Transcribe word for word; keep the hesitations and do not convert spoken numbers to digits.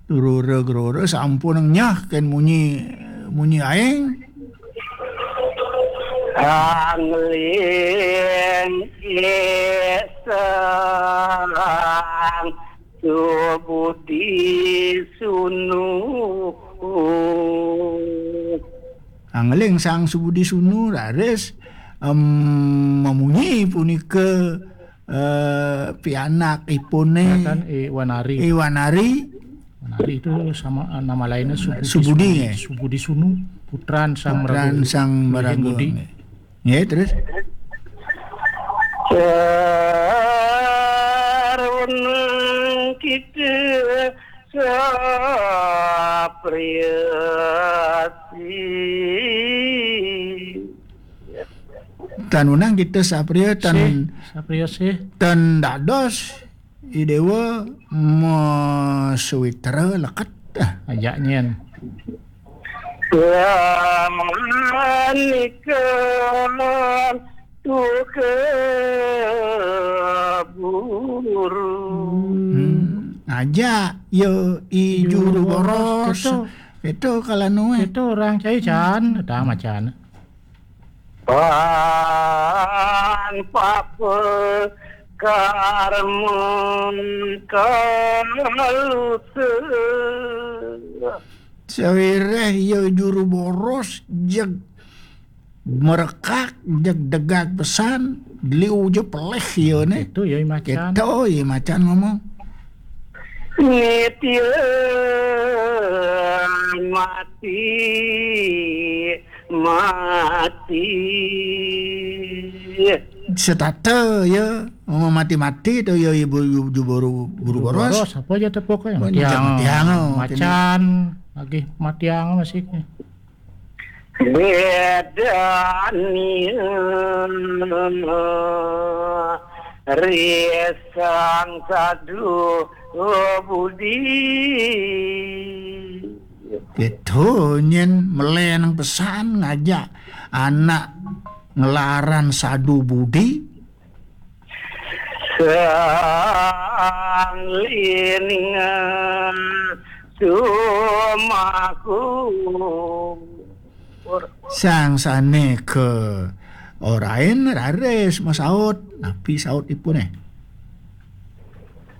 Durura grora sampun nyah kén munyi, munyi aéng. Angling Sang Subudi Sunu. Angling Sang Subudi Sunu raris, em, mamunyi punika, eh, pianak ipuné. Ngaten, I Wanari. I Wanari. Wanari itu sama, eh, nama lainnya Subudi Subudi, Sunu. Nggih. Subudi Sunu, putran Sang Putran Maraga. Sang Maraga, nggih. Nggih, terus? Sarunang kita sapriyasi. Tan wenang kita sapriya tan sih, sapriya sih. Tan dados Idéwa masawitra leket. Ah. Ajak nyén. Wanikan tuka buru. Hmm. Ajak ya I Juru Boros. Itu. Itu kalau nuwe. Itu orang cai can, ada macan. Pan papa karmun kalusa. Sawiréh ya Juru Boros jeg merekak, jeg degag pesan, liu ja pelih ya né. Itu ya I macan. Itu ya I macan ngomong. Nitya mati, mati. Setata ya, mau mati-mati to ya Ibu, Ibu Juru Boros. Juru Boros, apa aja tepuk ya? Matiang. Matiang, oh, macan, lagi matiang masih. Bedani risang sadu budi. Gitu, nyén melénan pesan ngajak anak ngelaran sadu budi. Sang liningan sumaku. Sang sané ke orain raris masaut, napi saut ipuné?